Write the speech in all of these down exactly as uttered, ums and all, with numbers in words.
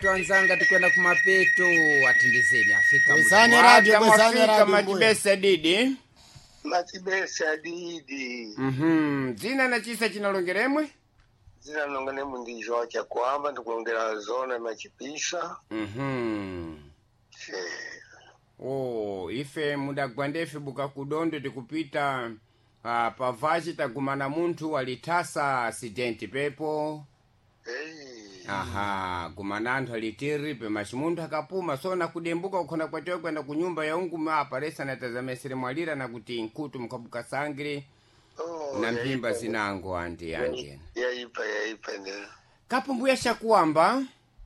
Twanzanga tikwenda kumapeto atindizeni afika muda. Kwezani radio, kwezani Mwafika radio mbuya. machibesa didi. Machibesa didi. Mhm. Dzina na chisa chinalongeremwe? Zina nongane mundi João Chakwamba ndikulongera zona machipisa. Mhm. Eh, Oh, ife mudagwa ndefe buka kudondo tikupita uh, pavachi tagumana munthu alitasa asidenti pepo. Ei. Aha, gumana anthu alitiri pemachi munthu akapuma sona kudembuka kukhona kwatewe kwenda kunyumba ya unguma aparesa na tazamesere mwalira na kuti nkutu mukhabuka sangire Oh, na mphimba yaipa. zinango anti anti. Yaipa yaipa ne. Kapo mbuya shakuwamba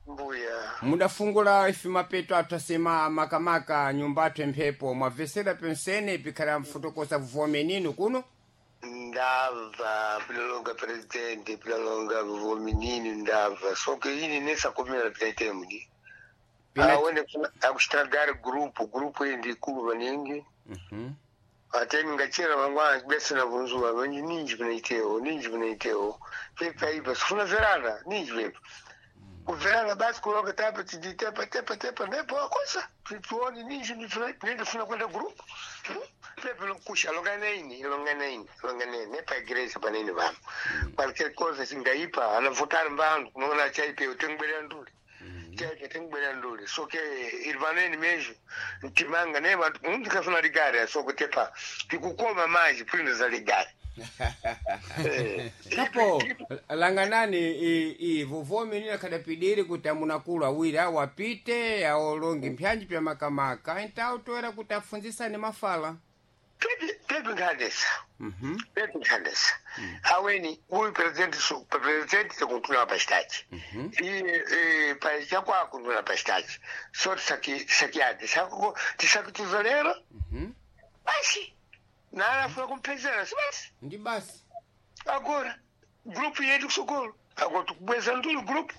Mbuya. mudafungula ife mapeto athu asema makamaka nyumba athu emphepo mwavesera pensene pikhala mfotokoza vuvomenino kuno. Ndava pilalonga presidente pilalonga vominini ndava soke ini nesakomera pinaite mudi. Pina- Awene akuchitragari grupu grupu iyi ndikulu maningi. Mhm. Ate ngachera mangwana bese na vunzuwa vanji ninji pinaitewo ninji pinaitewo pepa ipa sifuna verana ninji pepa kuverana basi kulonga tapa tiditepa tepa tepa nepo akosa tituone ninji nindifuna kwenda grupu pepa lokusha longa naini longa naini longa naini nepa igreja panini vamo qualquer cosa singaipa anavotari mbandu kunoona chaipe utengwelera nduli chaipe tengwelera nduli soke irivaneni mesmo ntimanga ne vantu muntu kafuna ligari soko tepa tikukoma manje prinda za ligari. Eh. Kapo langanani i- i vuvomenino akhadapidiri kuti amunakulu awiri awo apite awolonge mpyanji pya makamaka entawo toera kuti afunzisane mafala. Pepe pepe nkhandesa. Mhm. Pepe nkhandesa. Aweni uyu president su president tikuntuna pachitachi. Iye eh pachakwako kuntuna pachitachi. So tisaki tisakiade sako tisakutuzolero. Mhm. Basi. Nala funa kumpezera si basi. Ndi basi. Agora grupu yetu kusokolo. Agora tukubweza ndulu grupu.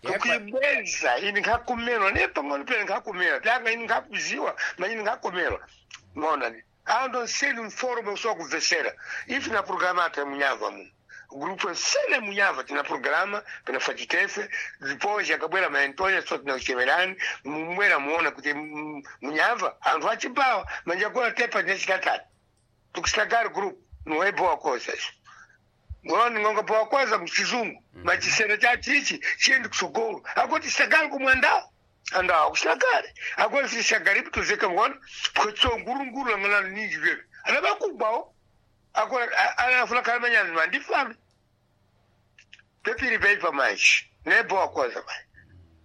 Tepa- Tukuibweza ini nkakumelwa nepang'ono pene nkakumelwa pyanga ini nkakuziwa manyini nkakumelwa mona ni ando nseli mforme usowa kubvesera ife na programa ata munyava muno grupo nsele munyava tina programa pina chitefe depois akabwera maentonya so tina kuchemerani mumwera muona kuti mm, munyava anthu achibawa manjagora tepa tine chitatatu tukusitagari group niwaibowa kosa iso ngoni ngonga bowa kwaza muchizungu machisere chachichi chiende kusogolo akoti sitakali kumwandao andawo kusitakali akoti sisagaripi tuzeka ngona kwetso ngurunguru langana ninji vyepe anabakugwawo akona anafuna kalamanyana mandifame pepiri peipa manje nebowa kwaza manje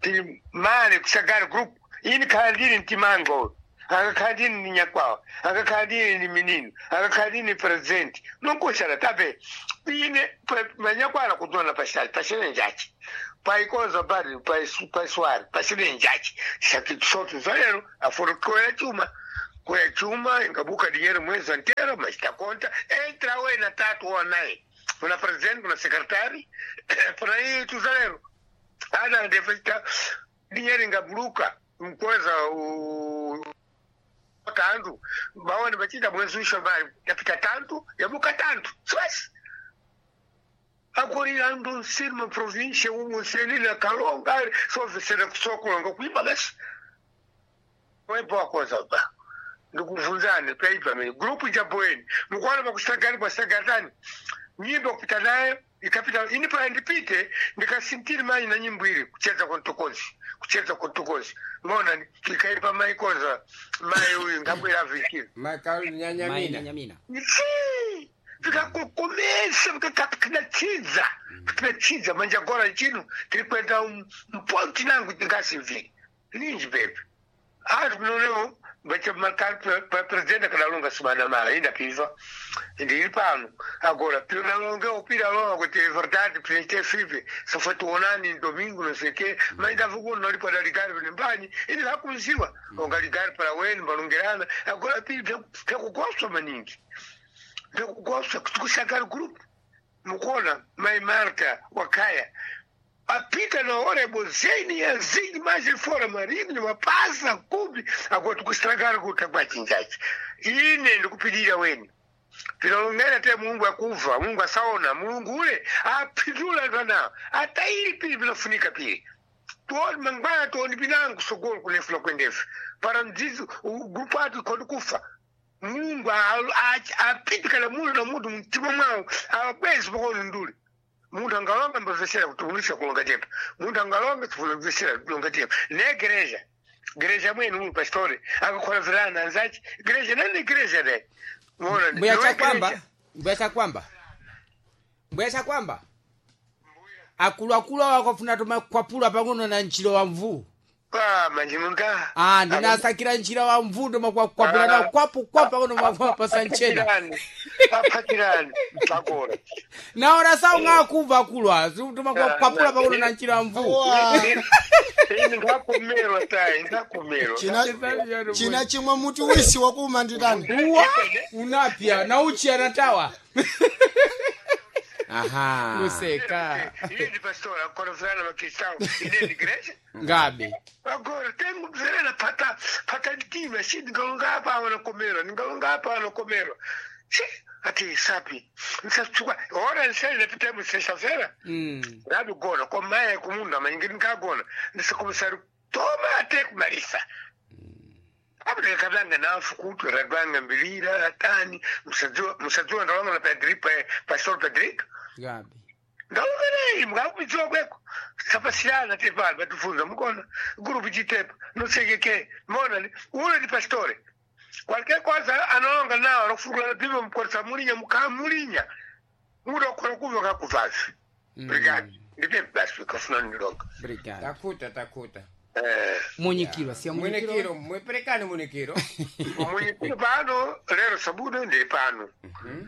tiri mane kusagara group ini khala ndini mtimango akakhala ndini ni nyakwawa akakhala ndini ni minino akakhala ndini president nonkuxala tape ine manyakwala kutona paxali paxele njachi paikoza bari paiswari paxele njachi sotu zalero aforo koya chuma koya chuma ingabuka dinheiro mwezi inteiro mas tá conta entra wena tatu ou nine kuna president kuna secretary kuna hii tuzalero ana ndefesta dinheiro ingabuluka mkweza u tantu baone bachita mwezi usho mali yapita tantu yabuka tantu swasi akorira andu nsiri ma província umu nsenina kalonga sovesera kusokulonga kuipa basi weboa koza ba ndikuvunzane paipa mene grupu jaboeni mukwana pakusagani kwasagatani nyimbo kupita nayo ikapita ini pala ndipite ndikasintiri manyi na nyimbo ili kucheza kontokozi kucheza kontokozi mona ikaipa maikoza mai uyu ngabwera vikiri Makalu Mai nyanyamina. Nyamina. Si, vikakokomesa vikakapinachidza pinachidza manje agora chino tiri kuenda mponti nangu tingasivhiri ninji pepe anthu kunonewo presidente akadalonga simanamala indapiva ndiri pano agora pinalonge upira longa kuti é verdade presidente five só foi tuonani domingo não sei o quê mas ndava kuno nali para ligar para mbanyi ini lakunziwa onga ligar para weni balongerana agora pili pyakugosta maningi ndikugosa kusakari group mukona mai Marta wakaya apita na hora bozeni ya zingi mais fora marinho mapasa kubi agora tukustragara kuta kwachinjachi ine ndikupidira weni pinalongera te Mungu akuva Mungu asaona Mulungu ule apindula ndana ataili pili pinafunika pili Tuone mangwana tuone binangu sogolo kunefuna kwendefu. Para mzizi grupo atu kodi kufa. Mulungu apitikala mulu na mutu mtima mwawo awabwezi pakono nduli. Muntu angalonga mbavesera kutukulisha kulonga tepa. Muntu angalonga tufuna kulonga tepa. Ne gereja. Gereja mwenu ulu pastori. Akakhola virana anzachi. Gereja nani gereja de. Muona Mbuya chakwamba, mbuya chakwamba. Mbuya chakwamba. Akulu akulu awo akafuna tomakwapula pang'ono na nchilo wa mvuu. Ah, manjinunga. Ah, ndinasakira nchila wa mvuu ndomakwapula na kwapu kwapu pang'ono makwapasa nchena. Apatirani. Mpakora. Naona sawu ng'akuva akulu awo tomakwapula pang'ono na nchila wa mvuu. Ini ngakumerwa tai, ngakumerwa. China china chimwe muti wisi wakuma nditani. Uwa unapya na uchi anatawa. Aha. Kuseka. Ine ndi pastora, akora virana makristau. Ine ndi gereja. Ngabe. Agora tengo verena pata pata ntima si ndingalonga apa wanakomerwa ndingalonga apa wanakomerwa si ati sapi nsatsuka ora nsele napita mu sexta-feira Mm. ngabigona komaya kumunda manyingi ndingagona ndisikumisari toma ate kumalisa abudekabanga nafu kutu radwanga mbilira atani musadziwa musadziwa ndalonga na Pedri pastor Pedrico Ngabe. ndalongerei mukakupitziwa kweko sapasirana tepano patifunza mukona gurupu chitepa nosekeke mona ni ule ni pastore qualquer cosa analonga nawo alokufukula bima mukoresa mulinya mukamulinya mudokhola kuva kakuvazi brigade ndipe basi kafuna nilonga Obrigado. Takuta takuta. eh Munyikiro, siya Munikiro, munyikiro. mweperekani munikiro. munyikiro pano lero sabudo ndi pano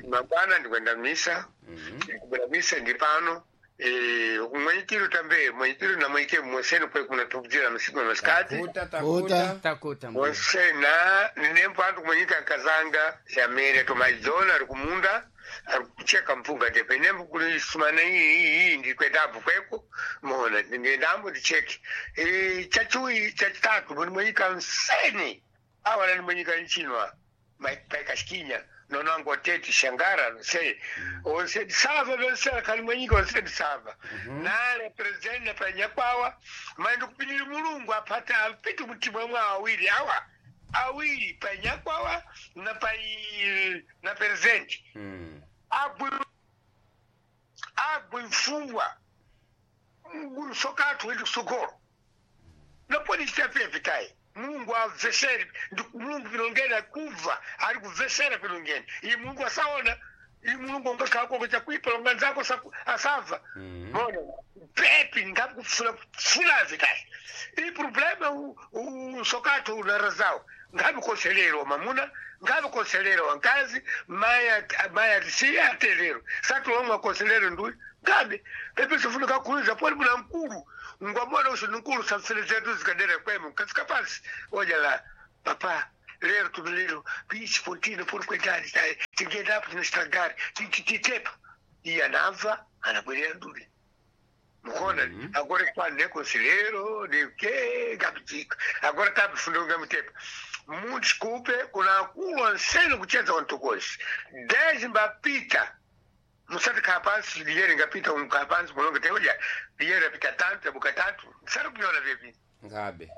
mangwana ndikwenda misa ndikubwera misa ndi pano Eh, mwenyikiro tambe mwenyikiro na mwenyike mweseni kwe kuna tukujira masiku na masikati Takuta Kuta. takuta. Takuta mbuya. wosena ninembo antu kumwenyika nkazanga xamene tomaidzona ari kumunda ari kucheka mpunga tepe nembo kulisumana iyi iyi ndikwendambo kweko mona ndingendambo ndicheke Eh, chachiwi chachitatu muni mwenyika nseni awala ni mwenyika nchinwa paikashikinya nonango teti shangara nosei onsedi sava lonsera kali mwenyika onsedi sava nale president na panyakwawa maindi kupinira mulungu apata apiti mutimwe mwa awiri awa awiri panyakwawa na pai na president Mm. agwe agwe mfungwa sokathu ili kusogolo naponi chitapepitayi mulungu amvesere ndi mulungu pilongeni akubva ari kubvesera pilongeni iyi mulungu asaona iyi mulungu ongakhala chakuipa longa nzako saku- asabva mona pepi ngakufuna kufuna vitayi iyi problema usokathu unarazao ngabe konselero mamuna ngabe konselero wankazi maya maya atisiya atelero satulomwa konselero nduyi ngabe pepe sifunika kuiza poli muna mkulu ngwamona usu nkulu samfele zetu zikadera kwemu kafika pasi oja la papa lero tumilero pichi pontino poli kwendani tayi tingenda apo tinastagari titepa iye anamva anabwerera ndule mukona agora kwani nekonselero neke ngapichika agora tabifundonga mutepa mudisculpe kuna akulu ansene kucheza wantokozi dez mbapita musati khala pansi liyere ngapita umkhala pansi mulonge teoja liyere apita tantu yabuka tantu musati kunyona vyepi Ngabe.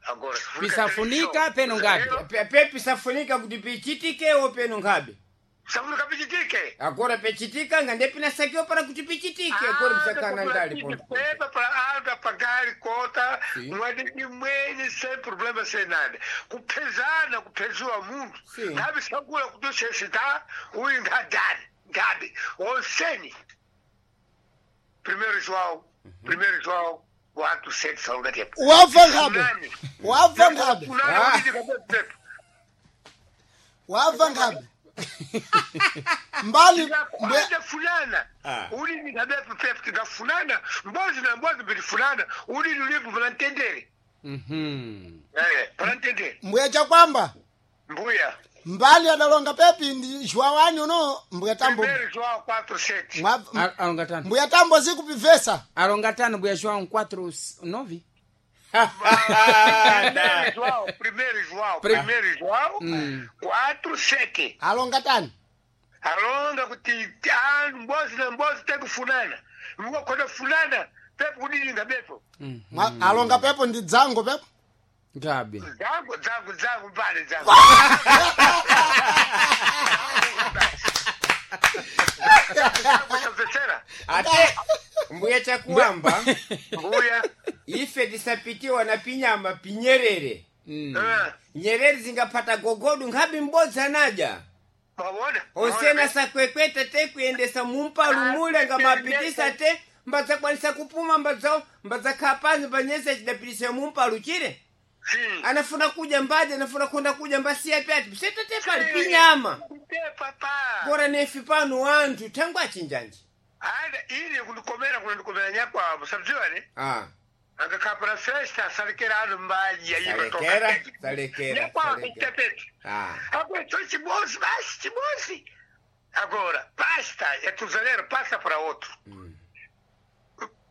agora Pisafunika peno ngabe. Pe pe pisafunika kuti pichitikewo peno ngabe. safunika pichitike Agora pechitika ngande pinasakiwa para kuti pichitike agora pisakana ndali ponto. Pepa para anda pagar conta Sim. mwadini mwenye sem problema sem nada kuphezana kupheziwa muntu Sim. ngabe sakula kutosesita uyu ngadani ngabe onseni primeiro João primeiro João quatro sete salongatepo Wabva ngabe. Wabva ngabe. Wabva ngabe. Mbali mbuya Kwenda fulana Ah. ulini ngabe pepe tingafunana mbozi na mbozi bilifunana ulini ulipo panantendere Mhm. eh panantendere mbuya chakwamba. mbuya Mbali adalonga pepi ndi João uno mbuya tambo. Primeiro João quatro sete Mwa- Al- Alonga tano. Mbuya tambo zikupivesa. Alonga tano mbuya João quatro nove. Primeiro João, primeiro João, Pri- primeiro João, quatro sete. Alonga tani. Alonga kuti ah, mbozi na mbozi tem kufunana. Mwa kona funana, Pepo kudilinga bepo. Mwa- alonga pepo ndi dzango pepo. Ngabe. Dzangu, dzangu, dzangu, mbale dzangu. Dzangu samvetsera. Ate mbuya chakuamba Mbuya. ife tisapitiwa na pinyama pinyerere. Eh, Nyerere zingapata gogodu nkhabi m'bodzi anaja. Mwaona? Osena sakwekweta te kuyendesa mumpalu mule nga mapitisa te mbadzakwanisa kupuma mbadza mbadzakhala pansi mbanyesa chidapitisa mumpalu chire. Hmm. Anafuna kudya mbadzi anafuna konda kudya mbasiya pyati pisetate pali pinyama. Papa. Kora nefi pano wanthu thangwe achinjanji. Ada ili kundikomera kundikomera nyakwabo sabziwa ne? Ah. Angakapra festa salekera anu mbaji ya Salekera, salekera, Nyakwabo salekera. itepete. Ah. Agora, então chibosi, basi chibosi. Agora, basta, é tuzaleiro, passa para outro.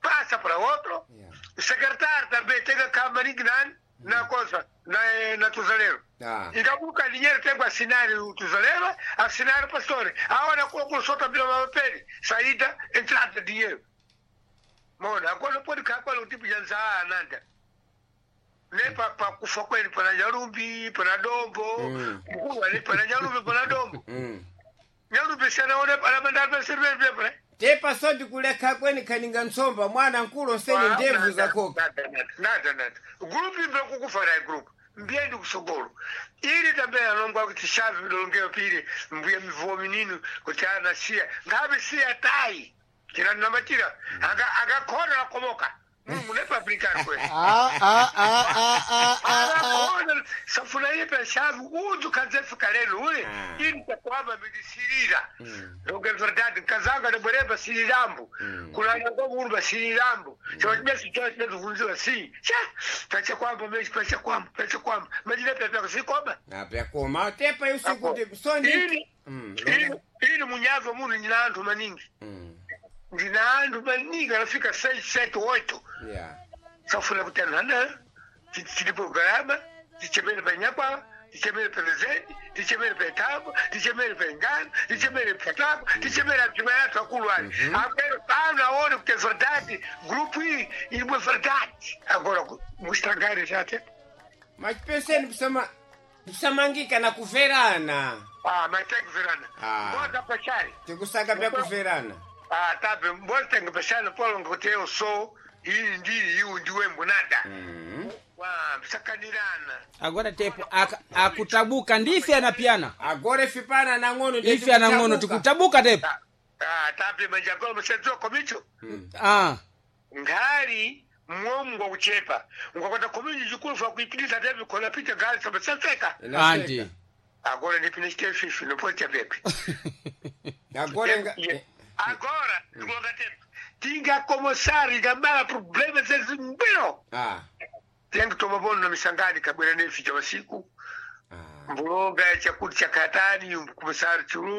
Passa para outro. Yeah. O secretário também tem que acabar na coisa, na, na tuzaleiro. Ah. Ikabuka dinheiro tem que assinar o tuzaleiro, assinar o pastor. Agora, com o solta pela papel, saída, entrada, dinheiro. Mona, agora não pode ficar com o tipo de anzaa, nada. Ne pa pa kufa kwenu pana Nyarumbi, pana Dombo, Mm. mkuu ali pana Nyarumbi, pana Dombo. Mm. Nyarumbi sana one pana bandari pa sirve pepe. Tepa sodi kulekha kweni khaninga ntsomba mwana nkulu osene ndebvu zakoka. Nada, nada, nada. Group imbe kukufa na group. Mbiendi kusogolo. Ili tambe alongwa kuti shavi bilongeo pili mbuye mivuo mininu kuti ana siya. Ngabe siya tai. Kina namatira. Aga aga kona komoka. Mungu nepa Afrika kwe. Ah, ah, ah, ah, ah, ah, ah. Agora, safuna ipe shavi udzu kanzefika lelo ule Ah. ili takwamba midisirira. Longe verdade kazanga ne bwereba sirirambo. Kulanga kwa urba sirirambo. Chwa chimesi chwa chimesi vunziwa si. Cha pacha kwamba meshi pacha kwamba pacha kwamba. Majile pepe sikoma. Apyakoma tepa yusiku te soni. Ili Mm. ili ili munyazo munu ndina anthu maningi. Mm. Ndina anthu maningi anafika seis sete oito. Yeah. Safuna kuti anthu ana tilipo galama tichemere panyakwa tichemere pelezeni tichemere petabo tichemere pengano tichemere patabo tichemere apima yathu akulu ali akwero pano aone kuti é verdade grupo iyi ilimwe verdade agora mustragare chate. Machipeseni kusama kusamangika na kuverana. Ah, mas tem que verana. Ah. Bota pachari. Tikusaka pya kuverana. Ah, tá bem, bota tem que pachari polo kuti eu sou iyi ndiri iwu ndiwe mbunada. Mm. Wa sakanirana. Agora tepo aka- akutabuka ndife anapiana. Agora ife pana nang'ono Ife anang'ono tikutabuka tepo. Ah, tá bem, mas agora você komicho. Ah. Ngali mwomu ngwakuchepa ngwakwata komunji chikulu fa kuipitisa tepi khona pita ngali sabasafeka. Andi. Agora ndipine chitefifi nopocha pepe. Agora nga Agora ndikulonga tepi tingakomosari ngambala problema zezimbiro. Ah. Tiyangitoma bono na misangani kabwera nefi cha masiku. Ah. Mbulonga chakuti chakatani kumosari chulu.